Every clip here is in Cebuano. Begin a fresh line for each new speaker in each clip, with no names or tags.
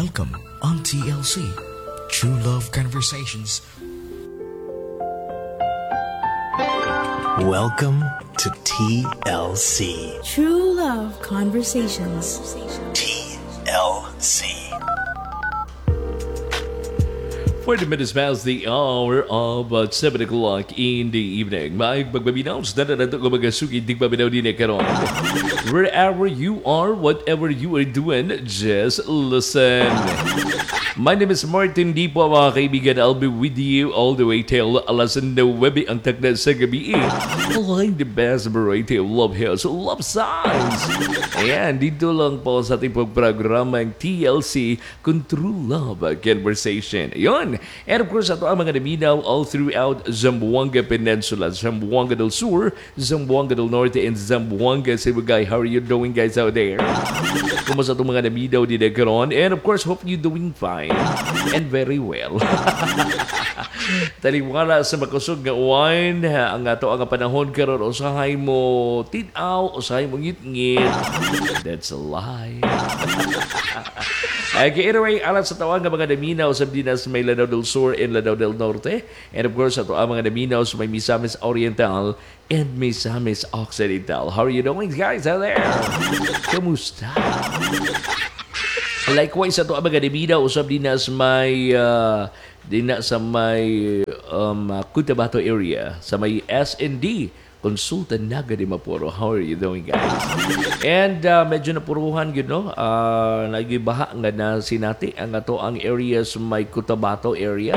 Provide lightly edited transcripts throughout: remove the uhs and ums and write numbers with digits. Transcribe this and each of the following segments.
Welcome on TLC, True Love Conversations.
Welcome to TLC.
True Love Conversations.
TLC.
40 minutes past the hour of 7 o'clock in the evening. Maayong pagpaminaw sa tanan nato nga mga suki tigpaminaw din karon. Wherever you are, whatever you are doing, just listen. My name is Martin Dipo, mga kaibigan. I'll be with you all the way till alas 9 ang takda sa gabi. Playing the best variety of love hits, love songs. Ayan, dito lang po sa ating programa ang TLC kung True Love Conversation. Ayun. And of course, ato ang mga naminaw all throughout Zamboanga Peninsula, Zamboanga del Sur, Zamboanga del Norte, and Zamboanga Sibugay. How are you doing, guys, out there? Kumusta itong mga naminaw din karon? And of course, hope you doing fine and very well. Taliwala sa makusog nga uwan, ang ato ang panahon karon, usahay mo tin-aw, usahay mo ngit-ngit. That's a lie. Okay, anyway, alang sa tawag nga mga naminaw sa dinas may Lanao del Sur and Lanao del Norte. And of course, ato ang mga naminaw sa may Misamis Oriental and Misamis Occidental. How are you doing, guys, out there? Kamusta? Likewise, ato ang mga naminaw usab dinas may dina sa may Cotabato area, sa may SND, Konsulta Naga de Mapuro. How are you doing, guys? And medyo napuruhan yun, no? Nagibaha nga na sinati ang ato ang area sa may Cotabato area.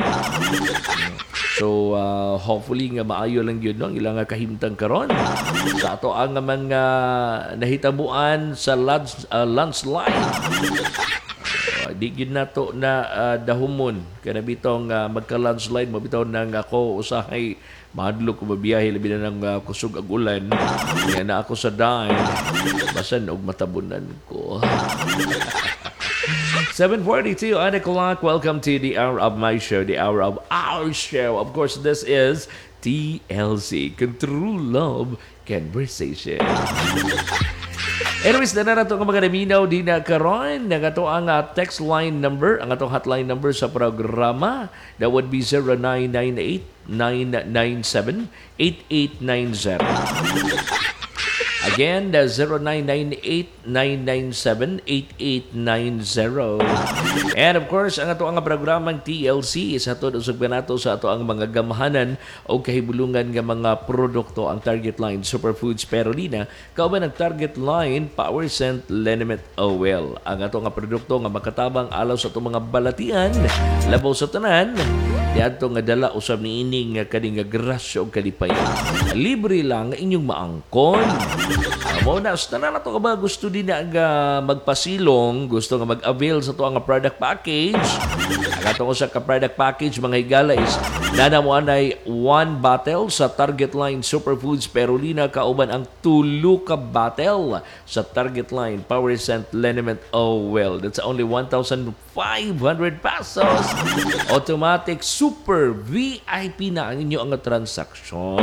So, hopefully nga maayo lang yun, no? Ang ilang nga kahimtang karon. Sa ato ang mga nahitabuan sa landslide. Di gyud nato na dahumon kana bitong magka landslide mo bitaw nang ako usahay mahadlok ko mabiyahe, labi na nang kusog ag ulan nga na ako sa dine, basan og matabunan ko. 7:42 on the clock. Welcome to the hour of my show, the hour of our show. Of course, this is TLC, True Love Conversation. Anyways, na nato ang mga naminaw din na karon. Ang ato ang text line number, ang atong hotline number sa programa, that would be 0998 997 8890. Again, the 0998-997-8890. And of course, ang ato ang programang TLC is hatod usab kanato sa ato ang mga gamhanan o kahibulungan nga mga produkto, ang Target Line Superfoods Perolina kauban ang Target Line Power Scent Liniment Oil. Ang ato nga produkto nga makatabang alaw sa atong mga balatian, labaw sa tanan, diadto nga dala usab niini nga kaning nga grasya og kalipayan. Libre lang inyong maangkon. Mo na sa tanan nato ka ba gusto din na nga magpasilong, gusto nga mag-avail sa ato ang product package. Ang ato sa ka product package, mga higala, is nana mo anay one bottle sa Target Line Superfoods Perolina kauban ang tulo ka bottle sa Target Line Power Scent Liniment Oil. That's only 1,500 pesos. Automatic super VIP na ang inyo ang transaksyon.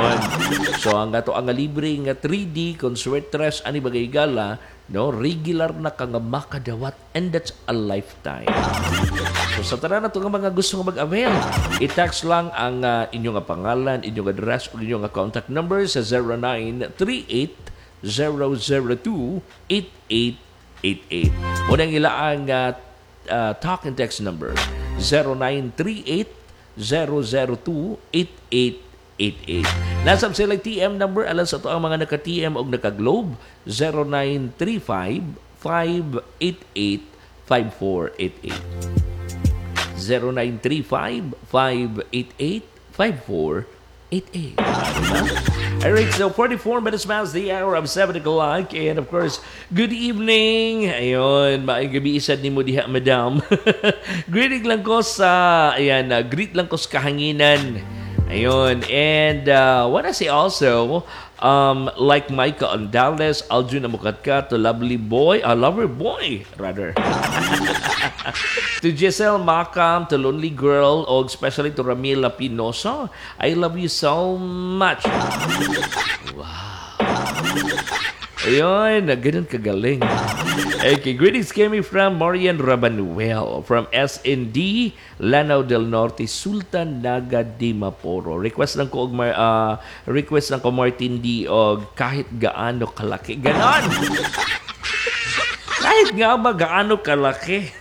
So ang ato ang libre nga 3D Consuetres ani bagay gala, no, regular na ka nga makadawat, and that's a lifetime. So sa tanan nato nga mga gusto nga mag-avail, i-text lang ang inyong nga pangalan, inyong address ug inyong nga contact number sa 0938 002 8888. Unang ila ang talk and text number 0938 002 8888. Nasab sila TM number alang sa ato ang mga naka-TM og naka-Globe, 0935 588 5488. 0935 588 5488. Diba? Alright, so 44 minutes past the hour of 7 o'clock. And of course, good evening. Ayun, maayong gabi isad nimo diha, madam. Greeting lang ko sa, ayan, greet lang ko sa kahanginan. Ayun, and wanna say also, like Micah Andales, Aljun Amukatkat, to Lovely Boy, a Lover Boy, rather, to Giselle Makam, to Lonely Girl, o especially to Ramila Pinoso. I love you so much. Wow. Ayun, ganun kagaling. Okay, greetings came from Marian Rabanuel from SND, Lanao del Norte, Sultan Naga Dimaporo. Request lang ko Martin D og "Kahit Gaano Kalaki." Ganon! Kahit nga ba gaano kalaki.